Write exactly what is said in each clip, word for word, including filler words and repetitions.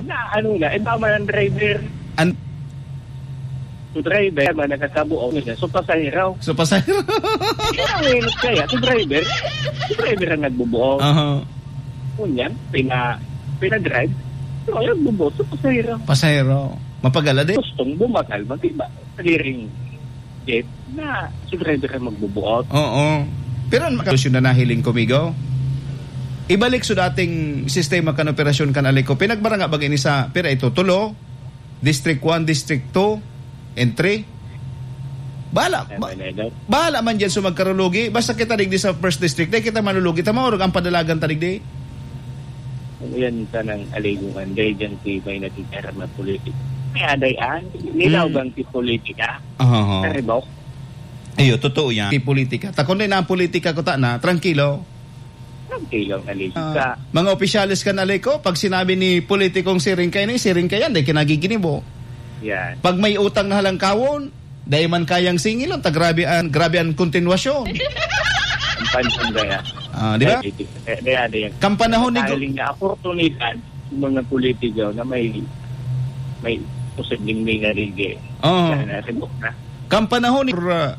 Na ano na, iba man ang driver. An- So driver man nakakabuo niya. So pasahero. So pasahero. Kaya ang init kaya, so driver. So driver ang nagbubuo. Aha. Ngunyan, pina, pina-drive. So, ayun, bubuo. So pasahero. Pasahero. Mapagala din. Gustong bumakal, mag-iba. Pag-iring jeep na so driver ang magbubuo. Oo. Pero ang solusyon na nahiling ko, Migo, ibalik sa dating sistema kan operasyon kan Aleco. Pinagbaranga ba ini sa, pira ito, tulo? District one, District two, and three? Bahala, ba-, Ay, may law. Bahala man dyan sa magkarulugi. Basta kita digdi sa first district, dahil kita malulugi, tama, orog ang padalagan ta digdi. Ano yan, tanang aligungan, dahil dyan si may naging karama politik. May aday an, nilaw Hmm. bang si politika? Aha. Karibok? Iyo, totoo yan. Si politika. Takon din ang politika ko ta na, tranquilo. Ang tilaw na lista. Ah, mga opisyales kan Aleco, pag sinabi ni politikong siring kayo ni, siring kayo, dai kinagiginibo. Yan. Pag may utang na halangkawon, dai man kayang singilon, ta grabe an, grabe an kontinwasyon. Ang pansin kaya. Ah, di ba? Ay, di, di, di, di, di. Kan panahon ni Gu- Dahil nga oportunidad, yung mga politiko na may, may posibleng may narigi. Oo. Sana, sibok na. Kan panahon ni, uh,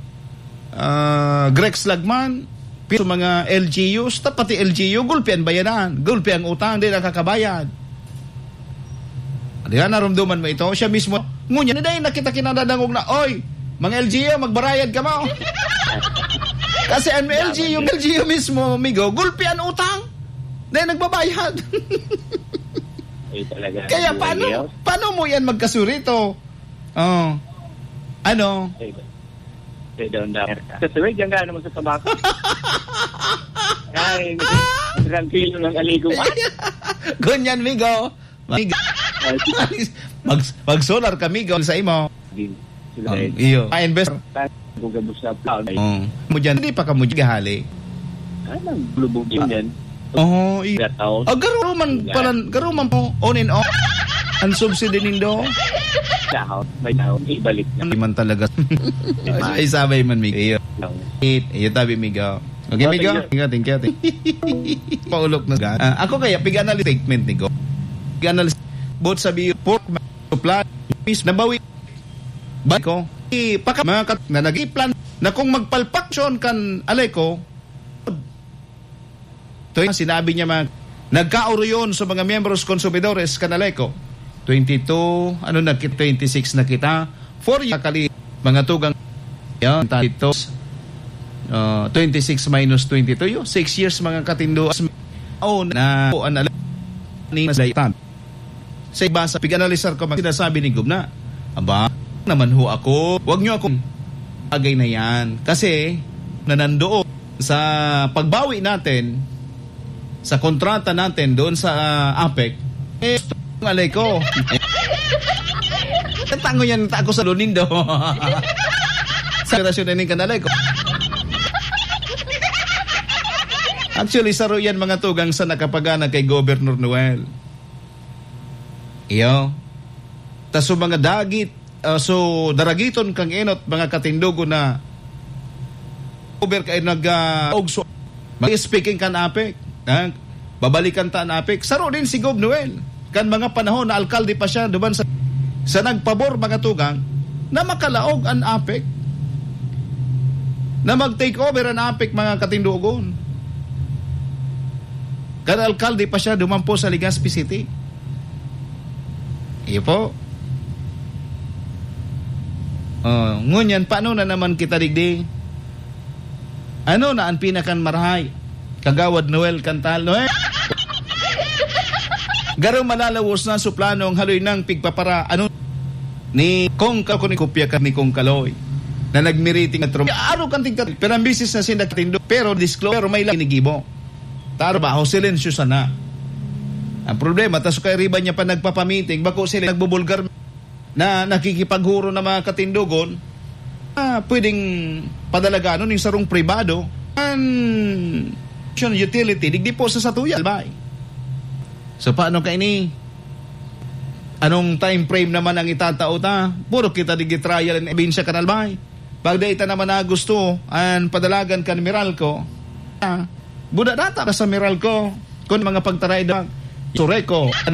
ah, Grex Lagman, pi-, sa mga L G Us, ta pati L G U, gulpi an bayadan, gulpi ang utang, di nakakabayad. Di ba, narumduman mo ito? Siya mismo, ngunyan, dahil nakita kinadadangog na, "Oy, mga L G U, magbarayad kamo." Kasi ang L G U, L G U mismo, amigo, gulpi an utang. Dahil nagbabayad. Ay, talaga. Kaya Ang paano, buhay, oh. Paano mo yan magkasurito? Oh. Ano? Ay, Kaya daw ang dami. Sa suwed, yan ka naman sa tabako. Ay, tranquilo ng aligo. Ganyan, migo. Migo. Ay, Mag, mag-solar ka, migo, sa imo. Din. Sila Ang eh. iyo. Pa-invest. Kung gabos na pa, ay. Oh. Mo dyan, hindi pa ka mo dyan hali. Ah, naglubog yun yan. Oh, i- Gataon. Ah, garo man Yan. pala, garo man po, on and off. Ang subsidy nindo. Dahon, may dahon, ibalik na. Hindi man talaga. Ay, sabay man, Migo. Iyo. Lang. It, iyo tabi, Migo. Okay, Migo? Thank you. Migo, thank you, thank you. Paulok na. Ah, ako kaya, pig-analyze statement ni Go. Pig-analyze, both sa biyo, pork, supply, fish, nabawi. Ba ko? Ipaka-, mga kat-, na nag-iplan na kung magpalpaksyon kan Aleco, Ito yung sinabi niya, mga nagkaoroyon sa mga miyembros konsumidores kan Aleco. Twenty-two, ano na kit-, twenty-six na kita. Four years, kali, mga tugang, yan, talitos. Uh, twenty-six minus twenty-two, yun, six years, mga katindo. Oh, na, oh, an Aleco, ni Masdaitan. Sa iba, sa pig-analisar ko, mag-, sinasabi ni Gov na, "Aba, naman ho ako, wag niyo akong bagay na yan." Kasi, nanandoon sa pagbawi natin, sa kontrata natin doon sa, ah, APEC, eh, ang Aleco. Tango yan, ta ako sa Lunindo. Sa relasyon na ning kan Aleco. Actually, saro yan, mga tugang, sa nakapagana kay Governor Noel. Iyo. Ta so mga dagit, ah, so daragiton kang enot, mga katindogon na over kay nag, ah, ugso. Mag-, speaking kan APEC, ha? Babalikan ta an APEC. Saro din si Gov Noel. Kan mga panahon na alkalde pa siya, duman sa, sa nagpabor, mga tugang, na makalaog an APEC. Na mag-take over an APEC, mga katindogon. Kan alkalde pa siya, duman po sa Legazpi City. Iyo po. Oh, ngunyan, paano na naman kita digdi? Ano na ang pinakan marahay? Kagawad Noel Cantal, Noel? Garo malalawos na su plano ang haloy nang pigpapara, ano, ni Kong Ka-, ni kopya ka ni Kong Kaloy, na nagmiriting at rum-, aro kan tigka-, pero ang bisis na sinda katindo, pero disclose, pero may lang inigibo. Trabaho, silensyo sana. Ang problema, tas kay riba niya pa nagpapamiting, bako sila nagbubulgar na nakikipaghuro na mga katindogon, ah, pwedeng padalaganon yung sarong pribado, an, utility, digdi po sa satuya, albay. So, paano ka ini? Anong time frame naman ang itatao ta? Puro kita digdi trial and evidence ka, albay. Pag dai ta naman na gusto, an padalagan kan Meralco, ah, buda data ka sa Meralco, kun mga pagtaray da, Sureco,